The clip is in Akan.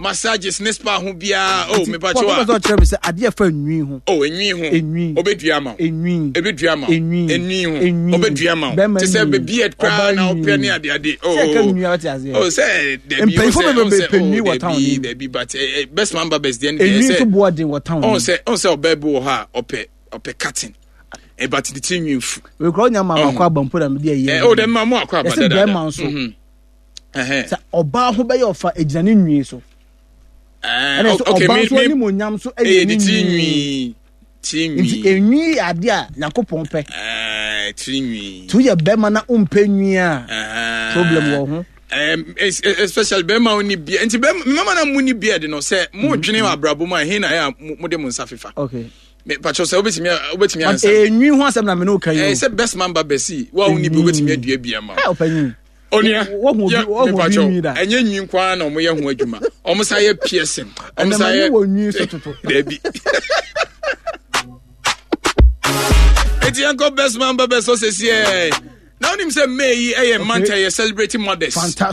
Massages ne spa ho biara. Oh, me pacho a. Pɔtɔ sɛ ɔkyerɛ me sɛ adeɛ fa nwi ho. Oh, enwi ho. Enwi. Obedua ma. Enwi. Ebedua ma. Enwi. Enwi ho. Enwi. Obedua ma. Te sɛ be beard koraa na ɔpɛ ne ade ade. Oh. Sɛ ka nwi a ɔte aseɛ. Oh, sɛ dabi. Mpanyinfo bebree pɛ nwi wɔ town ni. Dabi but eh, eh, best man barbers deɛ ne deɛ sɛ. Enwi nso boɔ den wɔ town ni. Oh, sɛ oh sɛ ɔbaa bi wɔ hɔ a ɔpɛ ɔpɛ cutting. Ɛba ti ti nwi nfu. Wekura onya maa makɔ aba mpo na mede ayi. Oh, dɛ maa mo akɔ aba dada. Ɛsɛ bɛrima nso. Mm-hmm. Sɛ ɔbaa ho bɛyɛ ɔfa egyina ne nwi so. Ɛna sɛ ɔbaa nso anim onyam so ɛyɛ ne nwi. Nti enwi yɛ adeɛ a Nyankopɔn pɛ. Tu yɛ bɛrima na ɔmpɛ nwi a problem wɔ ho. Especially bɛrima wo ni beard nti bɛrima mmarima na mu ni beard no sɛ mo dwene wɔ abrabɔ mu a ɛhe na ɛyɛ a mo de mo nsa fefa. Okay. Patro sɛ wobɛtumi wobɛtumi ansa. Enwi ho asɛm na me ne wo ka yi. Ɛɛ sɛ best man ba bɛsi wo a wo ni bi wobɛtumi adua bi ama. Ɛ ɔpanyin. Onua yɛ mepatro ɛnyɛ nwi nko ara na wɔn yɛ ho adwuma wɔn sa yɛ piercing wɔn sa yɛ wɔ nwi so toto. Dabi. Eti yɛn kɔ best man ba bɛsɔ sɛsi ɛɛ na wonim sɛ May yi ɛyɛ month a yɛ celebrating mothers. Fantastic.